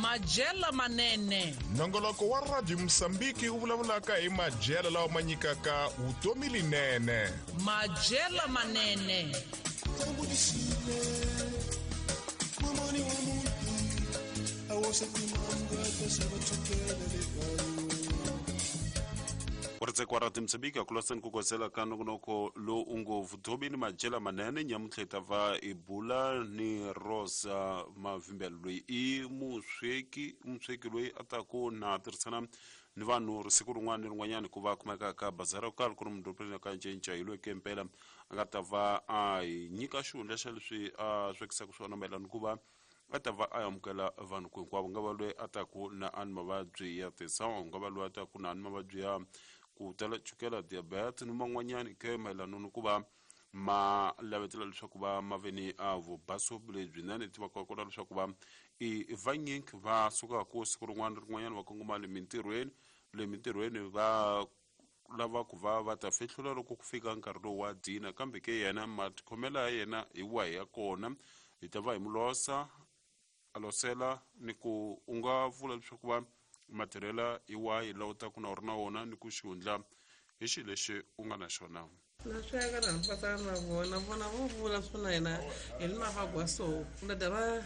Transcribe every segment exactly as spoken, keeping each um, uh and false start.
Madyelo manene. Nongoloko wa Radio Mosambiki wu vulavulaka hi madyelo lawa ma nyikaka vutomi linene. Madyelo manene. Ku ra timsambiki akulasani ku kosela ka nongonoko lowu u ngo vutomi ni madyelo manene. Nyamuntlha hi ta va hi bula ni Rosa Mavimbela, loyi i musweki musweki loyi a taku na tirhisana ni vanhu siku rin'wana ni rin'wanyana ku va kumeka ka bazara yo karhi ku ri mudorobeni ka Ncinca. Hi loyi ke mpela a nga ta va a hi nyika xihundla xa leswi a swekisaka swona mayelana ku va a ta va a amukela vanhu ku hinkwavo, nga va loyi a taku na a ni mavabyi ya tisawa, nga va loyi a taku na a ni mavabyi ya ku tala chukela, diabetes ni man'wanyani ke mayelana ni ku va ma lavetela leswaku va ma ve ni a vubaso lebyinene. Tivaka kona leswaku va i vanyingi va sukaka siku rin'wana ni rin'wanyana va kongoma le mintirhweni le mintirhweni va lava ku va va ta fihlula loko ku fika nkarhi lowu wa dina, kambe ke yena matikhomelo ya yena hi wahi ya kona hi ta va hi mu losa a losela ni ku u nga vula leswaku va matirhela hi wahi lawa u taku na u ri na wona ni ku xihundla hi xilo lexi u nga na xona. Na sweka na mpatsana na vona vona vo vula swona hina hi ni mavagwa so na dava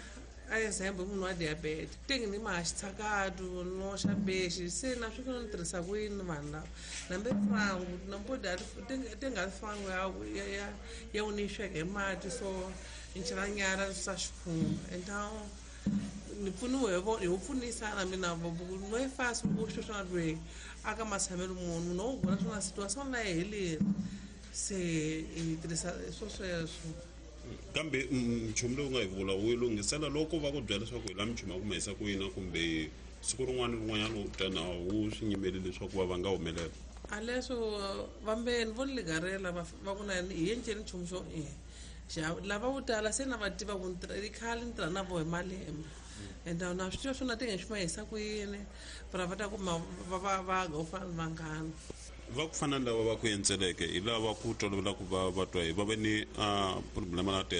a example munhu wa diabetes tenge ni mahaxi tshakatu no xa bexi se na swi ni tirhisa ku yini vanhu lava nambe frangu nambo da tenge a frangu ya ya ya u ni sweka hi mati so ni chela nyara swa xikhumba então ni pfuniwe hi vo pfunisana mina no yi fasi ku swi swona lweyi a ka matshamelo munhu munhu wo vona swona situation na yi heleri se hi tirhisa swo sweswo. Kambe nchumu lowu nga hi vula wu lunghisela loko va ku byela leswaku hi la minchumu ya ku ma yisa ku yini kumbe siku rin'wana ni rin'wanyana u ta na wu swi nyimeli leswaku va va nga humelela a leswo vambeni vo ni ligarela va ku na hi endleni nchumu xo e lava vo tala se na va tiva ku i khale ni tirha na vo hi malembe and na swi tiva swona tenge swi ma yisa ku yini va va ta ku va va va ga u fana ni vanghana va ku fana ni lava va ku endzeleke hi lava ku tolovela ku va va twa hi va ve ni problema na